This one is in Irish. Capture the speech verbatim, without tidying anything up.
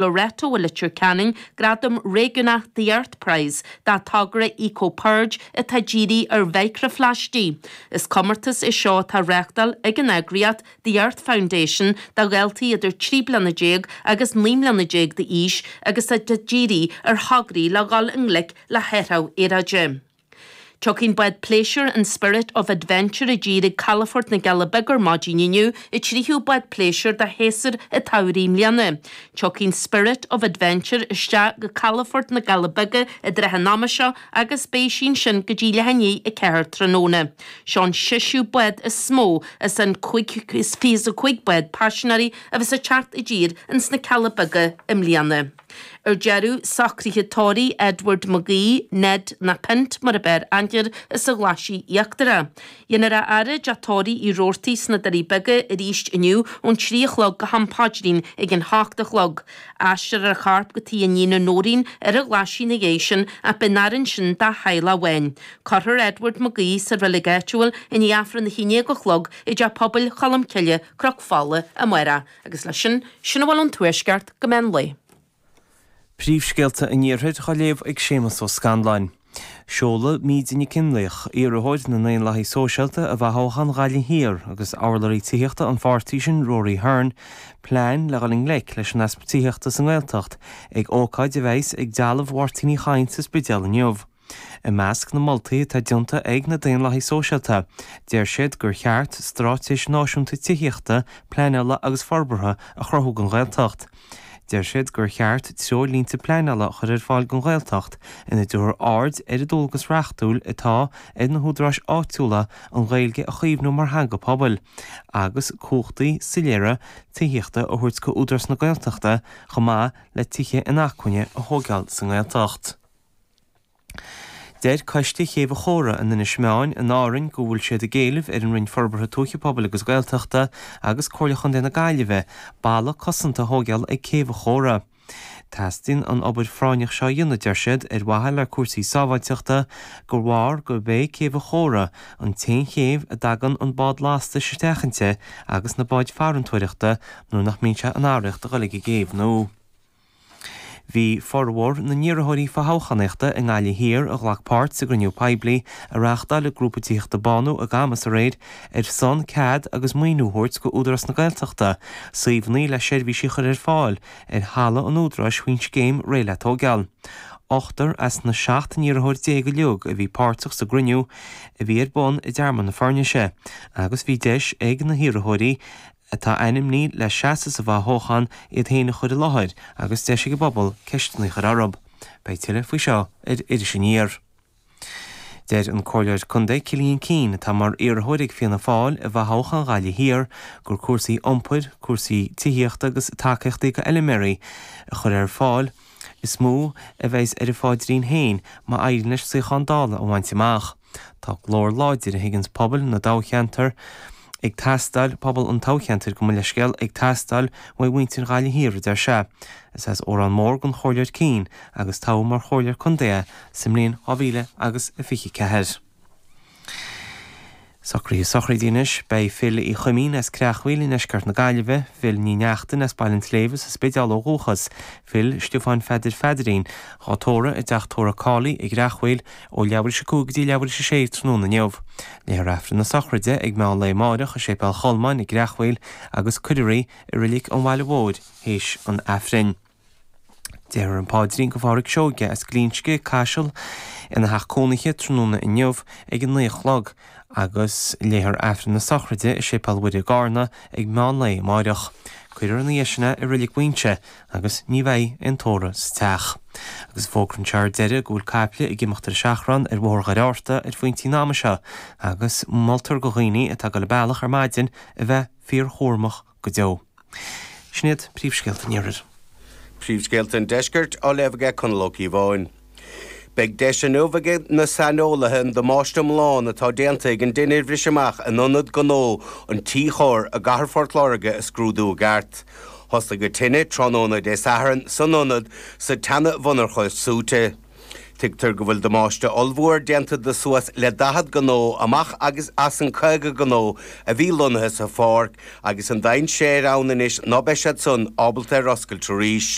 Loreto i Leitir Ceanainn gradam réigiúnach The Earth Prize dá togra Eco Purge atá dírithe ar mhicreaphlaistigh. Is comórtas é seo atá á reáchtáil ag an eagraíocht The Earth Foundation do dhaltaí idir trí bliana déag agus naoi mbliana déag d'aois agus atá dírithe ar thograí le dhul i ngleic le hathrú aeráide. Tiocfaidh an bád pléisiúir an Spirit of Adventure i dtír ag Calafort na gCealla Beaga ar maidin inniu an tríú bád pléisiúir do shéasúr an tsamhraidh i mbliana. Tiocfaidh an Spirit of Adventure isteach go Calafort na gCealla Beaga i dtrátha an ama seo agus beidh sí ansin go dtí leath i ndiaidh a ceathair tráthnóna. Seo an seisiú bád is mó as an cúig is fiche a cúig bád paisinéirí a bheas ag teacht i dtír ins na Cealla Beaga i mbliana. Ar deireadh, socruithe tórraimh Edward McGee, Ned nó Pint mar ab fhearr aithne air as an Ghlaisigh Íochtarach. Dhéanfar a fhaire i dteach tórraimh Uí Robhartaigh sna Doirí Beaga arís inniu ón trí a chlog go ham paidrín ag an hocht a chlog. Aistreofar a chorp go tigh a iníne Nóirín ar an Ghlaisigh ina dhiaidh sin ach beidh an fhaire ansin dá theaghlach amháin. Cuirfear Edward McGee sa reilig áitiúil i ndiaidh Aifreann a haon déag a chlog i dTeach Pobail Cholmcille, Cnoc Fola, amárach. Agus leis sin, sin a bhfuil ón Tuaisceart go meán lae. Príomhscéalta an Iarthair á léamh ag Séamus Ó Scanláin. Seolfaidh Míde Nic Fhionnlaoich, iarrthóir na nDaonlathaithe Sóisialta i bhfothoghchán Ghaillimh Thiar agus urlabhraí tithíochta an pháirtí sin Rory Hearne, plean le dhul i ngleic leis an easpa tithíochta sa nGaeltacht ag ócáid a bheas ag Dealbh Mháirtín Uí Chadhain sa Spidéal inniu. I measc na moltaí atá déanta ag na Daonlathaithe Sóisialta, deir siad gur cheart straitéis náisiúnta tithíochta, pleanála agus forbartha a chruthú don Ghaeltacht. Deir siad gur cheart treoirlínte pleanála a chur ar fáil don Ghaeltacht ina dtabharfar aird ar an dualgas reachtúil atá ar na húdaráis áitiúla an Ghaeilge a chaomhnú mar theanga pobail, agus cumhachtaí soiléire tithíochta a thabhairt go Údarás na Gaeltachta chomh maith le tithe inacmhainne a thógáil sa nGaeltacht. Deir Coiste Chéibh an Chóra in Inis Meáin in Árainn go bhfuil siad ag éileamh ar an Roinn Forbartha Tuaithe Pobail agus Gaeltachta agus Comhairle Chontae na Gaillimhe balla cosanta a thógáil ag Céibh an Chóra. Teastaíonn an obair phráinneach seo a dhéanamh, deir siad, ar mhaithe le cúrsaí sábháilteachta de bharr gurb é Céibh an Chóra an t-aon chéibh a dtagann an bád lastais isteach inti agus na báid farantóireachta nuair nach mbíonn sé in araíocht a dhul ag an gcéibh nua. Bhí formhór na n-iarrthóirí fothoghchánaíochta i nGaillimh Thiar a ghlac páirt sa gcruinniú poiblí a reáchtáil an grúpa tithíochta Bánú i gCamas aréir ar son cead agus maoiniú a thabhairt go Údarás na Gaeltachta suíomhanna le seirbhísí a chur ar fáil ar thalamh an Údaráis faoin scéim Réidh le Tógáil. Ochtar as na seacht n-iarrthóir déag uilig a bhí páirteach sa gcruinniú a bhí ar bun i dTearmann na Foirnise agus bhí deis ag na hiarrthóirí atá ainmnithe le seasamh sa bhfothoghchán iad féin a chur i láthair agus deis ag an bpobal ceisteanna a chur orthu. Beidh tuilleadh faoi seo ar Iris Aniar. Deir an Comhairleoir Contae Cillian Keane, atá mar iarrthóir ag Fianna Fáil i bhfothoghchán Ghaillimh Thiar, gur cúrsaí iompair, cúrsaí tithíochta agus tacaíochtaí go fheilméaraí a chur ar fáil is mó a bheas ar a pháidrín féin má éiríonn leis suíochán Dála a bhaint amach. Tá glór láidir a thuigeanns pobal na dtoghcheantar ag teastáil, pobal an toghcheantair, gabh mo leithscéal, ag teastáil uaidh mhuintir Ghaillimh Thiar, a deir sé. Is as Órán Mór don Chomhairleoir Keane agus toghadh mar Chomhairleoir Contae é sa mbliain dhá mhíle agus a fiche ceathair. Socruithe sochraide anois. Beidh Phil Uí Chuimín as Creachmhaoil i ndeisceart na Gaillimhe, Phil Ní Neachtain as Baile an tSléibhe sa Spidéal ó dhúchas, Phil Stiofáin Pheadair Pheadairín, dhá tórramh i dteach tórraimh Cawley i gCreachmhaoil ó leathuair théis a cúig go dtí leathuair théis a sé tráthnóna inniu. Léifear Aifreann na sochraide ag meán lae amáireach i Séipéal Cholmáin i gCreachmhaoil agus cuirfear í i Reilig an Bhaile Mhóir théis an Aifrinn. Déarfar an paidrín do Phádhraic Seoige as Glinsce, Caiseal, ina theach cónaithe tráthnóna inniu ag a naoi a chlog agus léifear Aifreann na sochraide i Séipéal Mhuire i gCarna ag meán lae amáireach. Cuirfear ina dhiaidh sin é i Reilig Mhuinseo agus ní bheidh aon tórramh sa teach. Agus fógra anseo ar deireadh go bhfuil caiple ag imeacht ar seachrán ar Bhóthar Dhoire Fhatharta ar phointí an ama seo agus moltar do dhaoine atá ag dul an bealach ar maidin a bheith fíorchúramach go deo. Sin iad príomhscéalta an Iarthair. Príomhscéalta an Deiscirt á léamh aige Conall Ó Cíobháin. Beidh deis inniu ag na saineolaithe an damáiste iomlán atá déanta ag an dtine a bhris amach in ionad gnó an Tí Chóir i gcathair Phort Láirge a scrúdú i gceart. Thosaigh an tine tráthnóna Dé Sathairn san ionad sa tseana-mhonarcha súite. Tuigtear go bhfuil damáiste ollmhór déanta de suas le daichead gnó amach agus as an caoga gnó a bhí lonnaithe sa pháirc agus an dainséar ann anois ná beidh siad san ábalta ar oscailt arís.